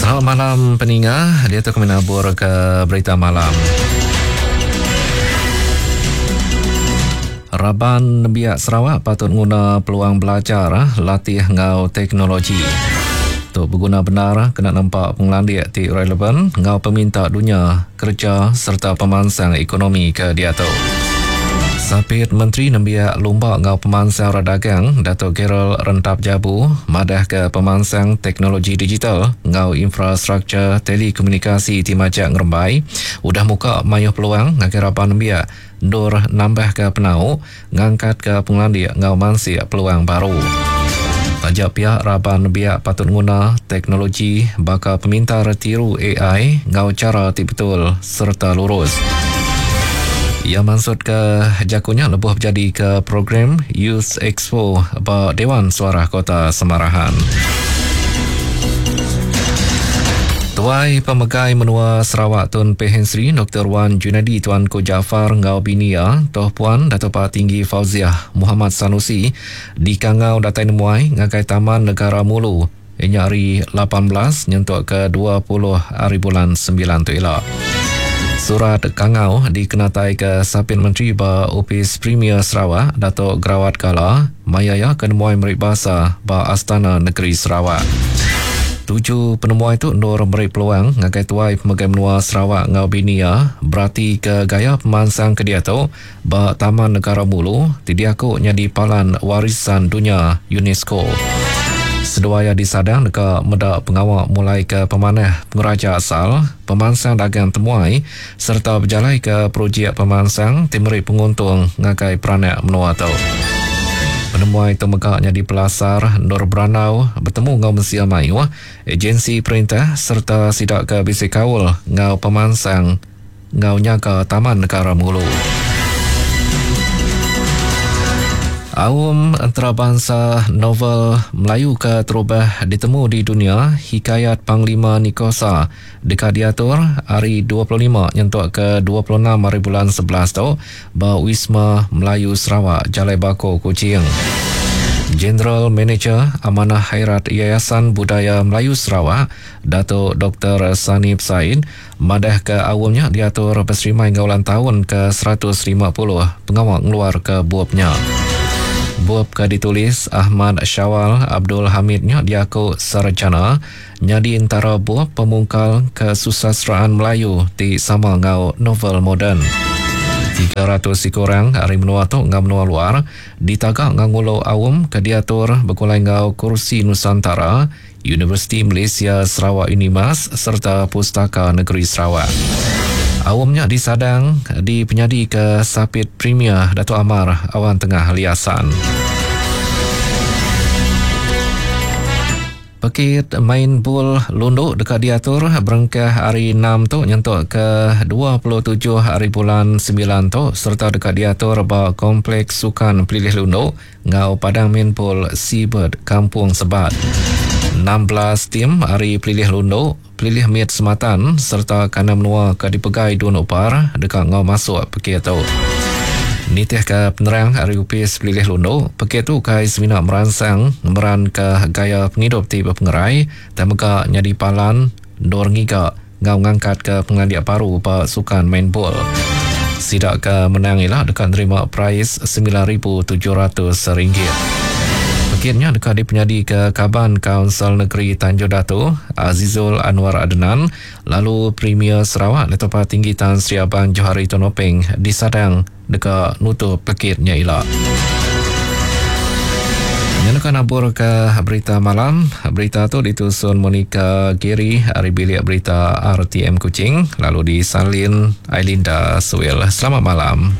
Selamat malam peninga, diatu kami nabur ke berita malam. Raban nembiak Sarawak patut nguna peluang belajar latih enggau teknologi. Tu beguna bendar kena nempa pengelandik ti relevan enggau peminta dunya kereja sereta pemansang ekonomi ke diatu. Sapit Menteri Nembiak Lumba enggau Pemansang Orang Dagang, Datuk Gerald Rentap Jabu madahka pemansang teknologi digital enggau infrastruktur telekomunikasi ti majak ngerembai udah muka mayuh peluang ngagai raban nembiak endur nambahka penau, ngangkatka pengelandik enggau mansik peluang baru. Taja pia raban nembiak patut nguna teknologi baka pemintar tiru ai enggau chara ti betul sereta lurus. Iya mansutka jaku nya lebuh bejadika program Youth Expo ba Dewan Suarah Kota Samarahan. Tuai Pemegai Menua Sarawak Tun Pehin Sri Doktor Wan Junaidi Tuanku Jaafar enggau bini iya, Toh Puan Dato Patinggi Fauziah Muhammad Sanusi dikangau datai nemuai ngagai Taman Negara Mulu iya nya ari 18 nyentuk ke 20 hari bulan sembilan tu ila. Surat kangau dikenataika Sapit Menteri ba Opis Premier Sarawak Datuk Gerawat Gala maya iya ke nemuai meri basa ba Astana Negeri Sarawak. Tuju penemuai tu endur meri peluang ngagai tuai pemegai menua Sarawak enggau bini iya beratika gaya pemansang ke diatu ba Taman Negara Mulu ti diaku nyadi Palan Warisan Dunya UNESCO. Seduai iya disadang deka meda pengawa mulaika pemanah pengeraja asal, pemansang dagang temuai sereta bejalaika projek pemansang ti meri penguntung ngagai peranak menua tu. Penemuai tu mega nyadi pelasar endur berandau betemu enggau mensia mayuh, ejensi perintah sereta sida ke bisi kaul enggau pemansang enggau nyaga Taman Negara Mulu. Aum Entarabansa Novel Melayu ke terubah ditemu di dunya, Hikayat Panglima Nikosa, Deka diatur ari 25 nyentuk ke 26 hari bulan 11 tu ba Wisma Melayu Sarawak, Jalai Bako, Kuching. General Manager Amanah Khairat Yayasan Budaya Melayu Sarawak, Datuk Doktor Sanib Said madahka aum nya diatur beserimai enggau ulang taun ke 150 pengawa ngeluarka bup nya. Bup ke ditulis Ahmad Syawal Abdul Hamid nya diaku sarjana Nyadi entara bup pemungkal kesusasteraan Melayu ti sama enggau novel moden. 300 iku orang ari menua tu enggau menua luar ditaga enggau ngulu aum ke diatur begulai enggau Kursi Nusantara, Universiti Malaysia Sarawak Unimas sereta Pustaka Negeri Sarawak. Aum nya disadang dipenyadika Sapit Premier Datuk Amar Awang Tengah Ali Hasan. Pekit main bul lundu deka diatur berengkah hari enam tu nyentuk ke 27 hari bulan semilan tu sereta deka diatur ba Kompleks Sukan Pelilih Lundu enggau Padang Main Bul Seabird Kampung Sebat. 16 tim ari Pelilih Lundu, Pelilih Mit Sematan sereta kandang menua ke dipegai Dun Opar deka enggau masuk pekit tu. Nitihka penerang ari Opis Pelilih Lundu, pekit tu ukai semina meransang ngemeranka gaya pengidup ti bepengerai tang mega nyadi palan endur ngiga enggau ngangkatka pengelandik baru ba sukan main bol. Sida ke menang ila deka nerima perais RM9,700. Pekit nya deka dipenyadika Kaban Kaunsil Negeri Tanjung Datu, Azizul Anwar Adenan lalu Premier Sarawak Datuk Patinggi Tan Sri Abang Johari Tun Openg disadang deka nutup pekit nya ila. Nya deka naburka berita malam. Berita tu ditusun Monica Giri ari bilik berita RTM Kuching lalu disalin Ailinda Suil. Selamat malam.